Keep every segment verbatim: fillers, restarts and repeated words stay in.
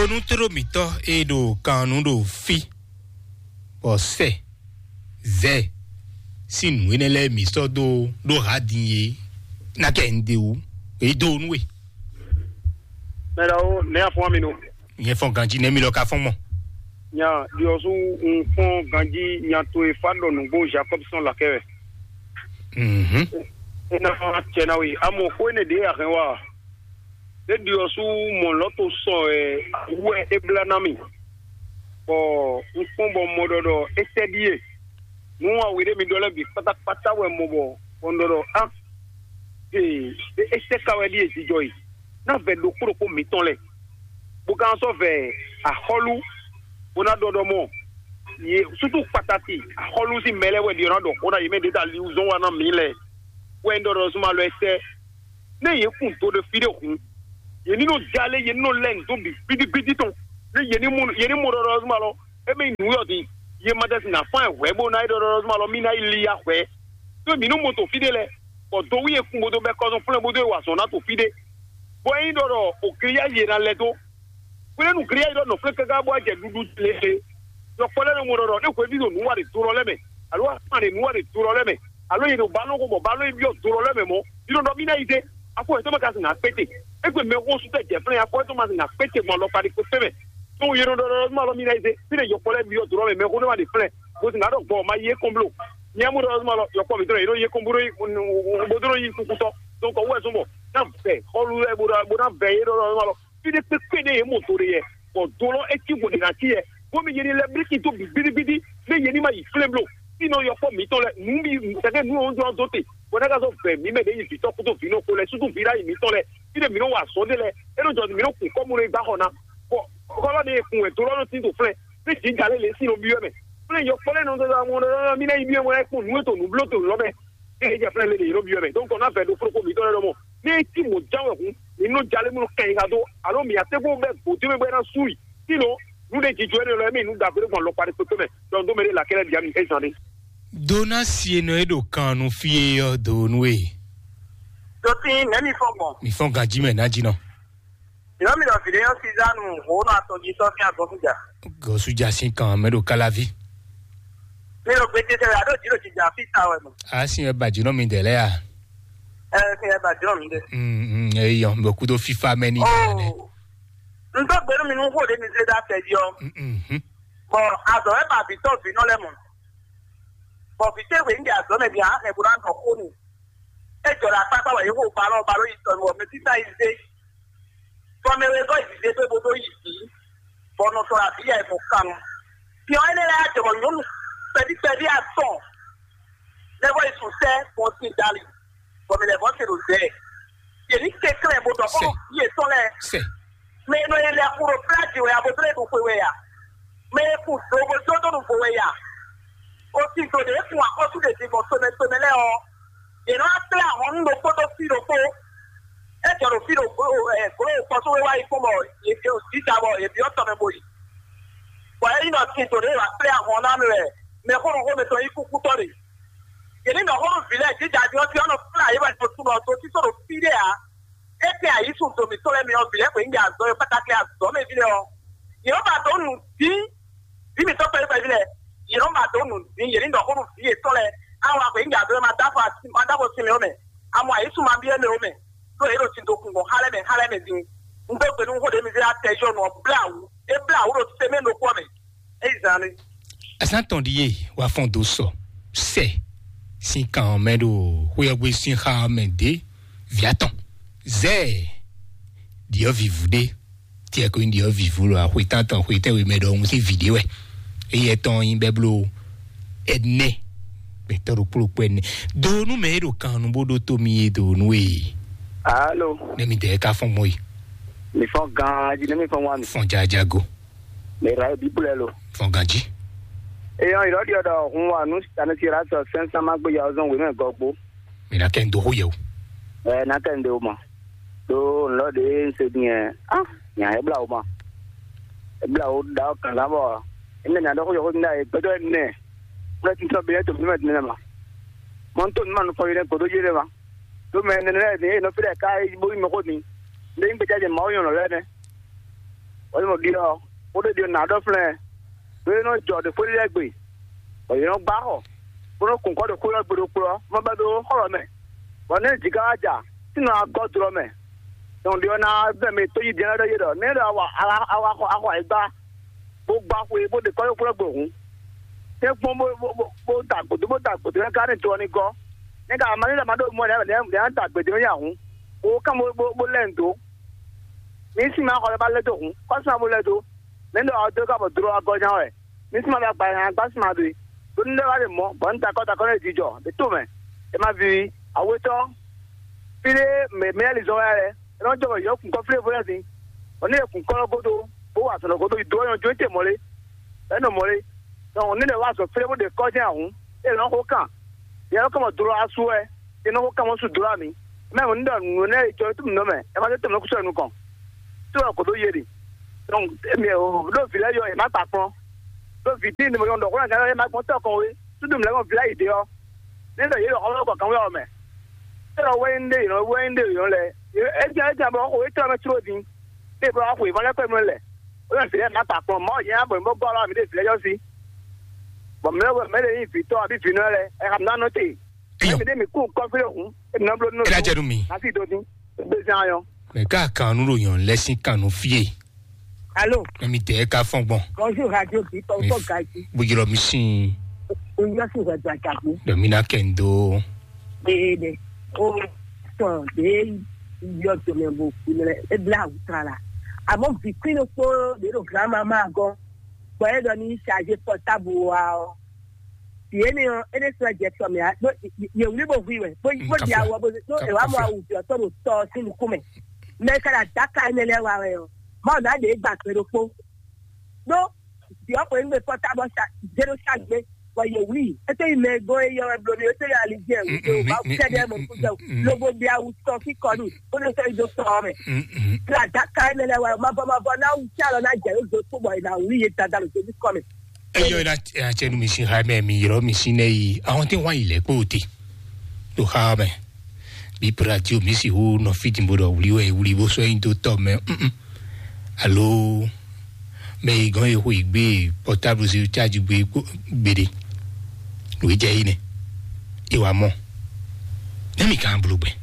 Onútóló mǐtɔn e ɖo kan nu ɖo fí, bɔ sɛ zɛ sín nǔ énɛ́ lɛ́ɛ mǐ sɔ́ dó ɖó ha din é, ná kɛ un ɖe wú, é dó nú we. Mɛ ɖawo, nɛ̌ afɔ́n mi nɔ? Nyɛ fɔ́n ganjí nɛ́ mi lɔ ka fɔ́n mɔ. Nya ɖiɔsú, un fɔ́n ganjí nya towe fa ɖɔ nǔgbó Jakɔ́b sɔn lakɛ wɛ. Mhm. É ná cɛ ná we. Amɔ xó énɛ́ ɖě a hɛn wa. É ɖiɔsú mɔ lɔ̌ to sɔ wɛ wú wɛ é blá ná mì. Bɔ un kpɔ́n bɔ un mɔ ɖɔ ɖɔ étɛ́ ɖíe. Nǔ awe ɖé mi ɖɔ lɛ́ɛ bǐ kpátákpátá wɛ mɔ bɔ bɔ un ɖɔ ɖɔ á ee, étɛ́ ka wɛ ɖíe jijɔ e? Ná vɛ ɖokpó ɖokpó mǐtɔn lɛ́ɛ, bó ka sɔ́ vɛ axɔ́lú, bó ná ɖɔ ɖɔ mɔ yě sútú kpatati axɔ́lú sín mɛ lɛ́ɛ wɛ ɖi ɔ́ ná ɖɔ xó ná yě mɛ ɖě ta liwú zɔ́n wa ná mǐ lɛ́ɛ. Wɛ un ɖɔ ɖɔ zuma lɔ ɛsɛ. Nɛ yě kun do ɖe fí ɖé hǔn, yě ní nɔ jalé, yě ní nɔ lɛ́ nǔ dó bǐ gbídígbídí tɔn. Nɛ yě ní mɔ yě ní mɔ ɖɔɖɔ zuma lɔ, émí nǔ yɔ din, yě ma ɖɛsi ná fán hwɛ̌ bó ná yi ɖɔɖɔ zuma lɔ, mí ná yi li ya hwɛ̌. Tó mǐ nɔ mɔ to fí ɖé lɛ́ɛ, bɔ do wú yě kun bó dó bɛ́ kɔ́zɔn flɛ́ bó dó yi wa azɔ̌ ná to fí ɖé. Bɔ é nyí ɖɔ ɖɔ o griyázi e ná lɛ́ dó. Hwelɛ́nu Gileyadi ɖɔ nɔ̌ flɛ́n káká bó wá jɛ ɖuɖu jlé. Yɔkpɔ́ lɛ́ɛ nɔ mɔ ɖɔ ɖɔ nú hweví ɖo nǔ wa ɖe do lɔ lɛ́ɛ mɛ, alo afán ɖe nǔ wa ɖe do lɔ lɛ́ɛ mɛ, alo yě ɖo balɔn xo bɔ balɔn yi byɔ́ do lɔ lɛ́ɛ mɛ mɔ̌, yi nɔ ɖɔ mí ná yi dé. Afɔ yětɔn ma ka sin akpéte. Égbé mɛxósú tɛ jɛ flɛ́n afɔ yětɔn ma sin akpéte gbɔn alɔkpa ɖe kpékpé mɛ. Tó yě nɔ ɖɔ ɖɔ nú alɔ mí ná yi dé. Fí ɖe yɔkpɔ́ lɛ́ɛ byɔ́ do lɔ mɛ, mɛxó nɛ́ wa ɖe flɛ́n. Bó sin ná ɖɔ gbɔ ma yi é kɔn bló. Nyɛ mɔ ɖɔ ma lɔ yɔkpɔ́ mǐtɔn yě nɔ yi é kɔn bó ɖó yi bó ɖó yi kúkútɔ́. Donc ɔwɛ zɔn bɔ ná vɛ xɔlu lɛ́ɛ bó ná vɛ yé ɖɔ ɖɔ ma lɔ. Fí ɖé kpékpé ɖé yě mɔ do ɖe yɛ, bɔ do lɔ é cí vo ɖe ná cí yɛ, bómi yě ní lɛ́ blí tito bǐ gbídígbídí, nú yě ní ma yi flé bló. Fínɔ yɔkpɔ́ mǐtɔn lɛ́ɛ, nǔ bí kɛkɛ nǔ ɔ́ jɔ dó te, bɔ ná ka zɔ vɛ mǐ mɛ ɖě yi vǐtɔ́ kúdó vǐ nɔ xo lɛ́ɛ, súdú vǐ ɖ'ayǐ mǐtɔn lɛ́ɛ, fí ɖé mǐ nɔ wa azɔ̌ ɖé lɛ́ɛ, é nɔ jɔ mǐ nɔ kun kɔ́ mú nɔ yi gbá xɔ ná, bɔ xɔlɔ́ ɖé e kun wɛ do lɔ nɔ tín do flɛ́, fí jǐ ja lé lě sín nɔ byɔ́ mɛ, flɛ́ yɔkpɔ́ lɛ́ɛ nɔ zɔzɔ amɔ ɖɔ mí ná yi byɔ́ mɛ, é kpɔ́n nǔ e to nǔ bló to lɔ́ mɛ. Ée é jɛ flɛ́ lě ɖě yě nɔ byɔ́ mɛ. Donc ɔ́ ná vɛ ɖo flókó mǐtɔn lɛ́ɛ ɖɔmɔ, ní é cí mɔ̌ ján wɛ hǔn, mǐ nɔ jalé mú nɔ kɛn nyi ha dó, alo mǐ a tɛ́ bó bɛ́ gbǒ dó mɛ bɔ é ná sú i. Sínɔ nǔ ɖé jijɔ énɛ́ lɔ é mɛ nǔ ɖagbe ɖé gbɔn alɔkpa ɖé kpékpé mɛ. Donc dó mɛ ɖé lakɛ́ lɛ́ɛ bǐ ami é zán ɖé. Donasi e nɔ é ɖo kan nú fí é ɔ́ do nú e. Dotí nɛ̌ mi fɔ́n gbɔn? Mi fɔ́n ganjí mɛ ná jí nɔ. Yɔ́mì ɖɔ vǐɖé nyɔ́ Sizanu hǒnɔ atɔn jí sɔ́ sín agɔ́sújà. Gɔ̌sújà sín kan mɛ ɖo káláví. Mi ɖo gbete sɛ wɛ aɖó jǐ ɖo jǐjà fí sa wɛ mɔ. A sin wɛ ba jǐ nɔ mi dɛ lɛ a? Ɛ sin wɛ ba jǐ nɔ mi ɖe. Mm, mm, eyɔ, bɔ kúdó fífá mɛ ní ìyá nɛ. Oh, n dó gbenu mi nú xó ɖé mi zé dá tɛ jí ɔ. Mm, mm, mm. Bɔ azɔ wɛ ba vǐ tɔn vǐ nɔ lɛ mɔ. Bɔ vǐ tɛ́ hwe ń ɖe azɔ̌ mɛ din a hɛn bó ná nɔ xó n'i. É jɔ ɖo akpákpá wɛ yě xo balɔ́ balɔ́ yi tɔnu ɔ́, mɛ títá yi zé. Bɔ mɛ wegɔ́ yi zé dó bó dó yi bǐ, bɔ nɔ tɔn abǐ ya yi mɔ kan nu. Fyɔ́n énɛ́ lɛ́ɛ jɔ bɔ nyɔ̌nu kpɛví kpɛví atɔn lɛ́ vɔ yi sun sɛ́ gbɔn sin dali, bɔ mɛ lɛ́ vɔ se ɖo zɛ. Yě ní kɛnklɛ́n bó ɖɔ xó yětɔn lɛ́ɛ. Mɛ e nɔ yi lɛ xo ɖo plá jǐ wɛ a, bó dó lɛ ɖo xwe wɛ a? Mɛ e kun do bó dó dó ɖo vo wɛ a? O sin do ɖě kun axɔ́sú ɖě din gbɔn tomɛ tomɛ lɛ́ɛ ɔ́, yě nɔ wá kplé ahɔn nú ɖokpó dó fí ɖokpó. É jɔ ɖo fí ɖo glo ɛ glo kpɔsó wé wá yi kpɔ́n bɔ yě ɖe jǐta bɔ yě byɔ́ tɔ mɛ bo yi. Bɔ é nyí ɖɔ sin do ɖě wá kplé ahɔn ná mɛ wɛ mɛxónɔ xómɛ tɔn nyí kúkútɔ́ ɖe. Yě ní nɔ xó nú vǐ lɛ́ɛ jǐjǎ jí ɔ́ jí ɔ́ nɔ kplá yě wɛ ɖo tunɔ dó tító ɖo fí ɖé ǎ. É tɛn ayǐ sun do mǐtɔn lɛ́ɛ mɛ ɔ́, vǐ lɛ́ɛ xweyǐgbe azɔ̌ e kpátáklé azɔ̌ mɛ ví lɛ́ɛ ɔ́, yě nɔ́ ba dǒ nǔ dín. Vǐ mǐtɔn kpɛví kpɛví lɛ́ɛ, yě nɔ́ ba dǒ nǔ dín, yě ní nɔ xó nú vǐ yětɔn lɛ́ɛ. Á wá xweyǐgbe azɔ̌ e ma dó afɔ ma dó afɔ sin mɛ ó mɛ, a mɔ ayǐ sun ma byɔ́ mɛ ó mɛ, ɖó yě ɖo sin do kun gbɔn xá lɛ́ɛ mɛ xá lɛ́ɛ mɛ din. Un dó gbe nú xó ɖě mi zé atɛ yɔ nɔ blá wǔ. É blá wǔ ɖo semɛ ɖokpó ɔ́ mɛ. É yi zan lé. Azán tɔn ɖíe wá fɔ́n dó sɔ sɛ sín kan ɔ́ mɛ ɖo xwéyɔ́gbé sín xá ɔ́ mɛ dě vǐ atɔn zɛ́ɛ ɖiɔ́ vǐvú ɖé. Tiɛ ko nyí ɖiɔ́ vǐvú lɔ axwetántɔn xwetɛ́nwe mɛ ɖɔhun sín vǐ ɖé wɛ. Éyɛ tɔn nyí bɛ́ bló ɛnɛ gbɛtɔ́ ɖokpó ɖokpó ɛnɛ. Do nú mɛ e ɖo kan nu bó ɖótó mi e do nú e. Alo. Nɛ mi dɛ ka fɔn gbɔn yi. Mi fɔn gan aji nɛ mi fɔn wa mi. Fɔn jajago. Mi ra e bíbélì lo. Fɔn ganji. Eyɔn ìrɔ diɔ dɔ hun wa nu sani ti ra sɔ sɛn sama gbe ya ozɔn wenu gɔgbo. Mi na kɛ n do ho yɛ o. Ɛ na kɛ n de o ma. Do nlɔ de n se diɛ. Ah, nya e bla o ma. E bla o da o kan na bɔ. Ene na dɔ ko yɔ ko na e gbɛdɔ ne. Kula ti tɔ bi ne to mi ma dine ma. Mɔ n to mi ma nu fɔ yi ne godo yi ne ma. Do mɛ ne ne ne e nɔ fi dɛ ka e bo yi mɛ ko ni. Ne n gbɛdɔ je ma o yɔn lɛ ne. Wɔ nyí mɔ ɖi ɔ́, xó ɖé ɖi ɔ́ nǎ ɖɔ flɛ́n, ɖó é nɔ jɔ ɖo xwé ɖé lɛ́ɛ gbe, bɔ yě nɔ gbá xɔ, bó nɔ kun kɔ́ ɖo xwé ɔ́ gbe ɖokpó ɔ́, má bɛ́ dó xɔ lɔ mɛ. Bɔ nɛ́ jǐ ka wá ja, tínɔ agɔ́ dó ɔ́ mɛ. Dɔn ɖi ɔ́ ná bɛ́ mɛ tó yí din lɛ́ɛ ɖɔ yé ɖɔ nɛ́ ɖɔ awa awa awa xɔ axɔ ayǐgbá, bó gbá xwé bó ɖe kɔ́ ɖo xwé ɔ́ gbe hǔn, tɛ́ kpɔ́n bó bó bó bó da gbǒdó bó da gbǒdó nɛ́ ka ní to ɔ́ ní gɔ́. Nɛ́ ka ma ní ɖɔ ma ɖo mɔ lɛ́ɛ lɛ́ɛ lɛ́ɛ da gbědé mɛ nyi ahǔn, bó kán bó bó bó lɛ́ nǔ dó. Ní sín ma xɔ lɛ́ɛ ba lɛ́ dó hǔn, kɔ́ sín ma bó lɛ́ dó. Nɛ́ ɖɔ ɔ dó ká bɔ dlo agɔ́ nya wɛ. Ní sín ma bɛ agba nya gbá sín ma ɖe. Ɖó ní lɛ́ wá ɖe mɔ̌, bɔ ní da kɔ́ da kɔ́ nɛ́ jijɔ ɖě to mɛ. È ma vivi, awetɔ́, fí ɖé mɛ mɛ yɛ́ lǐzɔn wɛ lɛ́ɛ, é nɔ jɔ bɔ yě nɔ kun kɔ́ fí ɖé vo lɛ́ɛ din. Bɔ ní è kun kɔ́ ɔ́ gúdo, bó wa azɔ̌ lɔ gúdo yi dó ɔ́ nyɔ́ jó tɛ́ mɔ̌ lé? Bɔ é nɔ mɔ̌ lé? Dɔn ní lɛ́ wá azɔ̌ fí ɖé bó ɖe kɔ́ jɛ́n ahǔn, é nɔ xó kan. Yě nɔ kɔ́ mɔ dlo asú wɛ, yě nɔ xó kan mɔ sú dlo ami. Mɛ ní ɖɔ nǔ énɛ́ e jɔ tó nǔ mɛ, é ma zé tɛmɛ kúsɔ nukɔn. Tó wɛ kǒ dó yé ɖe. Dɔn émi ò ɖó vǐ lɛ́ɛ yɔ yě má kpa kplɔ́n. Ɖó vǐ tíin ɖé mɔ yɔn ɖɔ xó ná gán yɛ má gbɔn tɛ́ kɔn wé. Súdú mǐ lɛ́ɛ gbɔn vǐ lɛ́ɛ yi ɖe ɔ́, ní ɖɔ yě ɖɔ xɔmlɔ kɔ kanwé ɔ́ mɛ. É ɖɔ wɛ nyí ɖe yě nɔ wɛ nyí ɖe yě nɔ lɛ. É jɛ é jɛ bɔ xo é tlɔ́ mɛ tló din. Ɖé bɔ xo é vɔ lɛ́ kɔ é mɔ lɛ. Ó yɛ vǐ lɛ́ɛ má kpa kplɔ́n. Mɔ̌ yě ná bɔ mǐ bó gɔ́ ɔ́ mǐ ɖe vǐ lɛ́ɛ yɔ sí. Bɔ mǐ lɛ́ɛ mɛ ɖé nyí vǐtɔ́ abí vǐnɔ lɛ́ɛ, ɛ xa mǐ ná nɔ te. Eyɔ. Mɛ ɖé mí kú kɔfí hǔn, é nɔ bló nínú. É ná jɛ nú mi. Hafi dó dín, gbèsè ayɔ. Mɛ ká kan nú ɖo yàn lɛsìn kan nú fie. Alo. Mɛ mi tɛ ká fɔn gbɔn. Bonjour, Radio Bi, tɔn tɔ gaji. Bujɔlɔ mi sin. O yɔ si wɛ do ajagbo. Dɔ mi na kɛ n do. Ee de. O sɔn de yɔ tɔmɛ bo kunlɛ e bla awutra la. Àmọ́ vi kí ló kpó de ɖo grandma ma gɔn. Bɔ e ɖɔ ni charge portable wa ɔ. Yě ni ɔ́, é ɖésú wɛ jɛ tɔ mɛ ǎ, ɖó yě wlí bó hu i wɛ, bó bó ɖi awɔ bó ɖó è wá mɔ awu vǐ ɔ́ tɔn ɖo tɔ ɔ́ sín nukún mɛ. Mɛ e ka ɖo adǎka énɛ́ lɛ́ɛ wa wɛ ɔ́, Mawu ná ɖě gba gbe ɖokpó. Ɖó vǐ ɔ́ xweyǐgbe kɔ́ ta bɔ sa zéro sa gbe, bɔ yě wlí i. É tó yi mɛ e gɔ́n é yɔ wɛ bló ní é tó yi ali jɛ wǔ dó Mawu kɛ́ɖɛ́ mɔ kú jɛ wǔ. Lobo ɖi awu tɔn kíkɔ n'i, bó ɖo sɔ́ yi dó tɔ ɔ́ mɛ. Ɖo adǎka énɛ́ lɛ́ɛ wa ɔ́, mavɔ mavɔ ná wú sí alɔ ná jɛ yě dó kpó bɔ è nǎ wlí yé Dadá ɖo Jezu kɔn mɛ. Eyɔ yi na tiɛ nu mi si ha mɛ mi ylɔ mi si nɛ yi ahɔn tɛ wa yi lɛ kpo te to ha mɛ bi pra ti o mi si hu nɔ fi din bo ɖɔ wuli wɛ wuli bo sɔ yin do tɔ mɛ mm alo mɛ yi gɔn yi hu yi gbe portable si charge gbe gbeɖe lo yi jɛ yi nɛ e wa mɔ ne mi kan blo gbɛ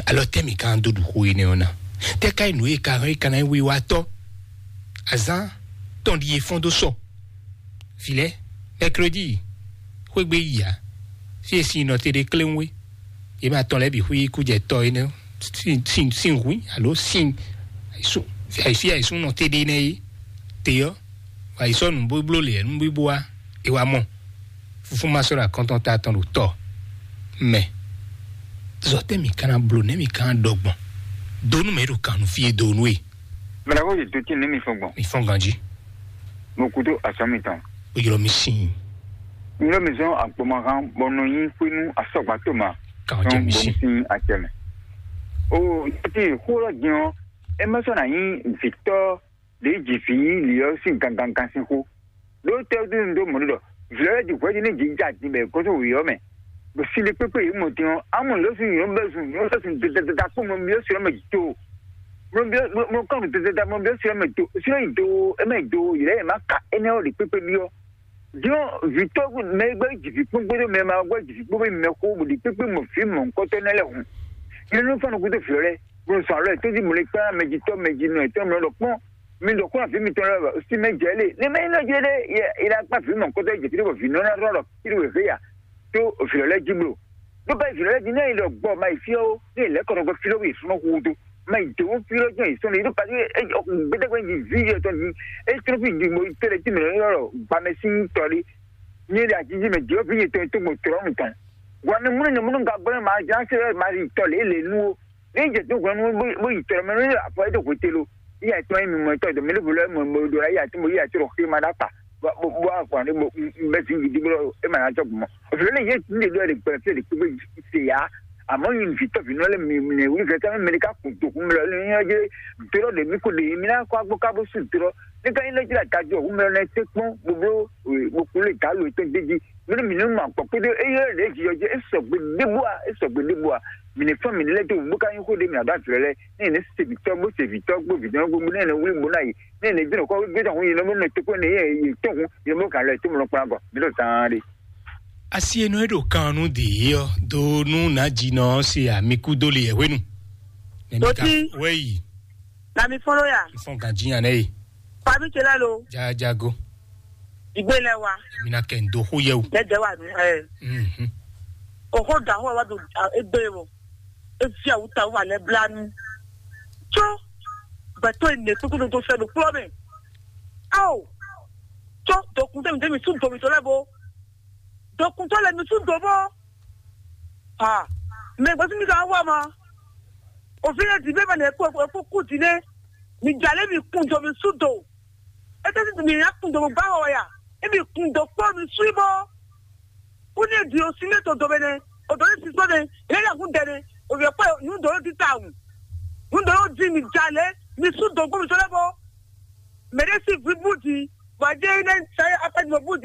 alɔ tɛ mi kan do ɖu xo yi nɛ ɔna tɛ ka yi nu yi ka hɔn yi kana yi wi wa tɔ azan tɔn ɖi ye fɔn do sɔ Filɛ, mɛkredi, xwégbe yi ǎ, fí e sin nɔ te ɖe kléwún é, yě ma tɔn lɛ́ɛ bǐ xwí kújɛtɔ́ énɛ́ sín sín sín hwǐ alo sín fí e sín nɔ te ɖe énɛ́ é, te ɔ́, wǎ yi sɔ́ nǔbló lě nǔ bíbó wá, è wá mɔ. Fúfú ma sɔ́ ɖo akɔ́ntɔn ta tɔn ɖo tɔ mɛ. Zɔ tɛ́ mǐ ka ná bló nɛ̌ mǐ ka ná ɖɔ gbɔn? Dó nú mɛ e ɖo kan nú fí e dó nú e. Mɛ ɖaxó yě dó tín nú mi fɔn gbɔn. Mi fɔn ganjí. Mo kú tó azɔ̌ mitɔn. Ó ylɔ́ mi sín. N ylɔ́ mi zɔn agbɔmahan bɔ nɔ nyi xwé nú asɔgba tó ma. Kan jɛ mi sín. Sín acɛ mɛ. O ti xó lɔ din ɔ, e ma sɔ na nyi vitɔ ɖe ji vi li ɔ sín gangan sín xó. Ɖó tɛ dó nu dó mɔ ɖɔ vlɛ di hwɛ di ne ji ja din bɛ gɔsɔ wi ɔ mɛ. Bɔ si ɖe kpekpe yi mɔ din ɔ, amu lɔ sun yɔ bɛ sun yɔ bɛ sun dada kpɔ mɔ mi ɔ sɔ mɛ to. Mɔ mi ɔ mɔ kɔn dada mɔ mi ɔ sɔ mɛ to sɔ yi do ɛ mɛ do yi lɛ ma ka ɛnɛ ɔ ɖe kpekpe bi ɔ. Diɔ vitɔ mɛ gbɛ ji vi kpɔn gbɛdɔ mɛ ma gbɛ ji vi kpɔn bɛ mɛ xo bo ɖe kpekpe mɔ vi mɔ nkɔtɔ nɛ lɛ hun. Yɛ nu fanu kudo fi lɛ, bo sɔ lɛ to di mɔ le kpɛ mɛ ji tɔ mɛ ji nɔ etɔ mɛ lɔ kpɔn. Mi ɖɔ kó na vi mitɔn lɛ o si mɛ jɛ lé ne mɛ yi nɔ jɛ lé yɛ yi la kpa vi mɔ kɔtɔ jɛ kiri bɔ vi nɔ na rɔ rɔ kiri wɛ ve ya to vi lɛ ji blo. Ɖo ba vi lɛ ji ne yi lɔ gbɔ ma yi fi o ne yi lɛ kɔnɔ gbɔ fi lɔ yi sɔnɔ hu do ma yi de wo fi lɔ jɛ yi sɔnɔ yi ɖo pa gbɛdɛgbɛ yi vi yɛ tɔn di e tɔn fi di mo tɛlɛ ti mɛ lɔ gba mɛ si tɔ di nye de ajiji mɛ di o vi yi tɔn to mo trɔ mi tɔn. Gwa ne munu ne munu ga gbɛ ma jan se ma yi tɔ le le nu o. Ní jɛ tó hwenu bó yi tɔrɔ mɛ ní afɔ é tó hwete lo. Ní yà tɔn yín mi mɔ tɔ dɔ mɛ ní volɔ mɔ mɔ do la yà tó mɔ yà tó xé ma dá kpa. Bó bó afɔ ní bó bɛ fi yìí dúró é ma ná tɔ gbɔmɔ. Òfin lè yé ní de lóye gbɛ fi de kpékpé se yá. Àmọ́ yín fi tɔ fi nɔ lé mi mi wuli fɛ sami mi ká kun tó kun mi lɔ ní yín ɔjɛ dúró de mi kò de mi ná kó agbó ká bó sùn dúró. Ne ka nyí lɛ́ jlá tají ɔ́, wumɛ lɛ́ɛ tɛ́ kpɔ́n bó bló bó kplé gǎ lo tɔn d'é jí. Mɛ ní mǐ ní ma gbɔ kpódó éyɛ́ lɛ́ jijɔ jí é sɔgbe ɖébú a, é sɔgbe ɖébú a. Mǐ ní fɛn mǐ ní lɛ́ dó bó ka nyí xó ɖé mǐ adó azlɛ lɛ́ɛ. Ní yě ní se vǐtɔ́ bó se vǐtɔ́ gbó vǐtɔ́ gbó ní yě ní wlí bó ná yi. Ní yě ní dó nǔ kɔ gbé tɔn hun yě ní mɔ nɔ tó kpó ní yě yě tó hun yě ní mɔ gǎn lɛ tó mɔ nɔ kplán gɔ. Mǐ ɖo zaan ɖé. Asi e nɔ e ɖo kan nú dǐ ɔ́, do nú nǎjínɔ ɔ́ se amikú dó le yɛ hwenu. Nɛmí ka Toti. Wɛyi. Na mi fɔ́n ló ya. Fɔn ganjí yan nɛ ye. Fami ce lɛ lo. Jajago. Igbe lɛ wa. Mina kɛ n do xó yɛ o. Lɛ dɛ wa nu ɛ. Mhm. Oxo da xó wa do egbe wo. Efi awuta wa lɛ blanu. Tso. Gbɛtɔ ene kpekpe do fɛ do kplɔ mɛ. Awo. Tso dokun tɛmi tɛmi su domi to lɛ bo. Dokun to lɛ mi su do bo. Ah. Mɛ gbɛsi mi ka wa ma. Òfin yɛ di bɛ ma nɛ kó kó kú di nɛ. Mi jalè mi kun do mi su do. Ete si mi ya kun do mo ba wɔ ya. E mi kun do kpɔ mi sui bɔ. Kuni e di o si ne to do bene. O do ne si so ne. Ele ya kun dɛ ne. O yɛ kpɔ nu do di ta wu. Nu do di mi jalè mi su do gbɔ mi so le bɔ. Mɛ de si vi bu di. Wa je ne sa akpa di mo bu di.